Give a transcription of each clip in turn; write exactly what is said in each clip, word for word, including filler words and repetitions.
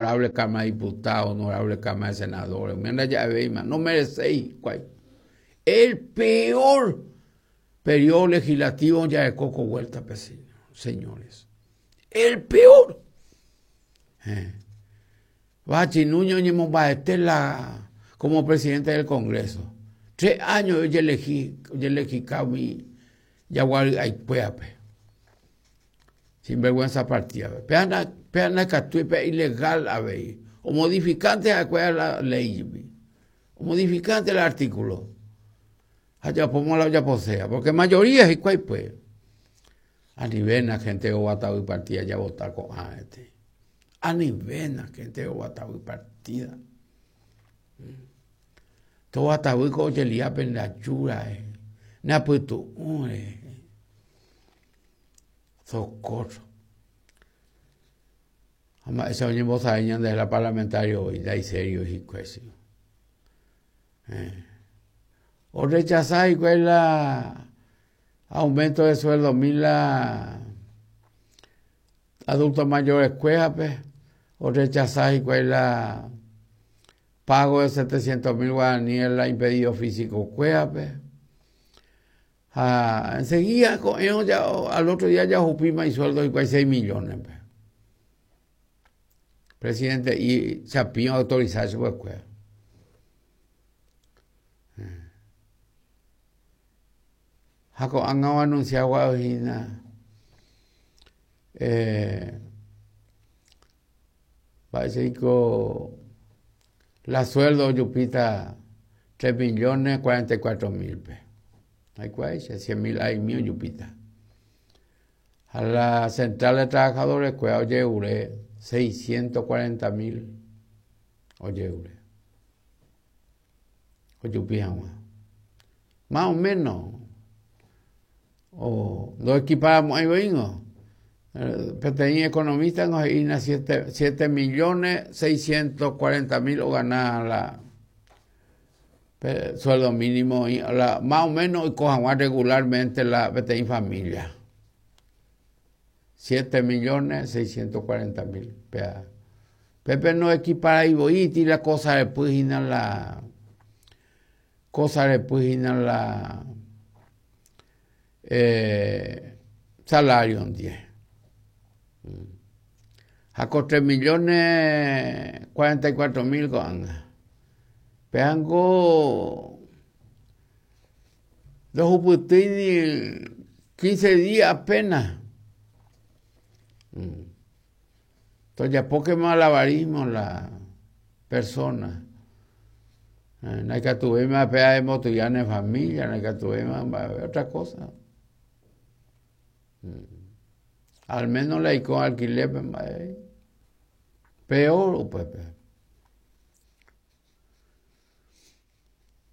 Honorable Cámara de Diputados, honorable Cámara de Senadores, no merecéis. El peor periodo legislativo ya de coco vuelta, señores. El peor. Eh. Bachi Nuño la como presidente del Congreso. Tres años yo elegí, yo elegí mi yaguar aipueape. Sinvergüenza partida. Peana, peana catuipe ilegal a ver. O modificante a la ley. O modificante el artículo. Allá pongo la ya posea. Porque mayoría es igual pues. A nivel la gente o y partida ya votar con este. A nivel la gente o y partida. Todo ataúd con oyelia en la yura, na putu une. Socorro. Ama esa oye voz a de la parlamentario hoy, da y serio y cuesio. Eh. O rechazar y cuál la aumento de sueldo mil la adultos mayores cueja, pues, o rechazar y cuál la pago de setecientos mil guaraníes la impedido físico cueja, pues. Ah, enseguida con ellos ya, al otro día ya jupima y sueldo y seis millones, pues. Presidente y Chapín autorizar su escuela. Jaco han anunciado Guadalajara eh parece que la sueldo yupita tres millones cuarenta y cuatro mil pe. Hay cuál cien mil hay mío yupita. A la central de trabajadores cuál oye ure seiscientos cuarenta mil oye ure. Oye más o menos. O no equiparamos ahí vengo. Peteño economista nos ina siete millones seiscientos cuarenta mil o ganar la sueldo mínimo y la, más o menos y cojan regularmente la peteña familia. siete millones seiscientos cuarenta mil. Pepe no equipara y voy y la cosa después y la cosa después y la eh, salario en diez. Jaco tres millones cuarenta y cuatro mil con Peango dos uputini quince días apenas. Entonces ya poco malabarismo la persona. No hay que tuve más pea de motoyana en familia, no hay que tuve más otra cosa. Al menos la con alquiler, peor, pues.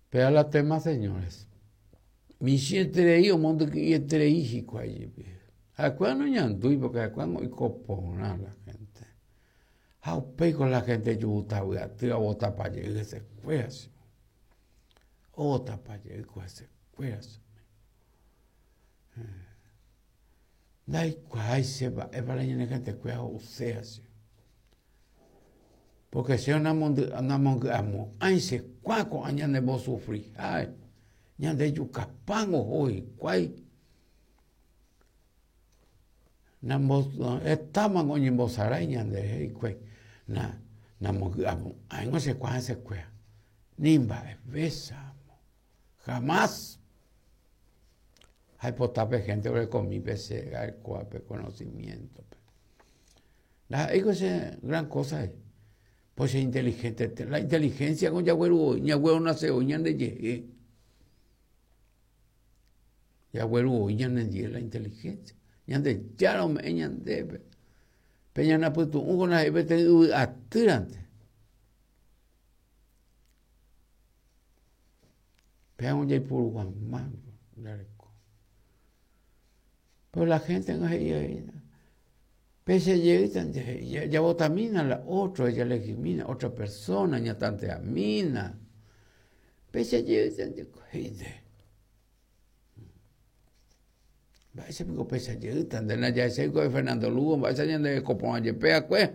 Pero la tema, señores. Mi siete o mundo que entre hijo allí. A cuando ñandui porque a cuando y copona la gente. A con la gente yuta, voy a tirar bota para llegar ese cuerpo. Bota para llegar ese cuerpo. Dai cuál se va, es para la gente cuál o sea. Porque si una monde una monde amo, ay se cuaco añade vos sufrir, ay, ñande yucapango hoy, cuál. Nambos estamos con ñembosaray ñande y cuál. Na na amo, ay no sé cuál se cuál. Nimba besa. Jamás. Hay potape gente que comí pese al cuape conocimiento. La es gran cosa. Pues es inteligente. La inteligencia con yagüero, yagüero nace hoy ñande ye. Yagüero ñande la inteligencia. Ñande ya no me ñande. Peña na putu un na ebete atirante. Peña un yay por guamán. Pero la gente no se llega. Pese llega, ya botamina la otra, ella legimina, otra persona, ya tante amina. Pese llega, gente. Va ese pico pese llega, de la ya ese de Fernando Lugo, va ese de Copón Yepea, pues.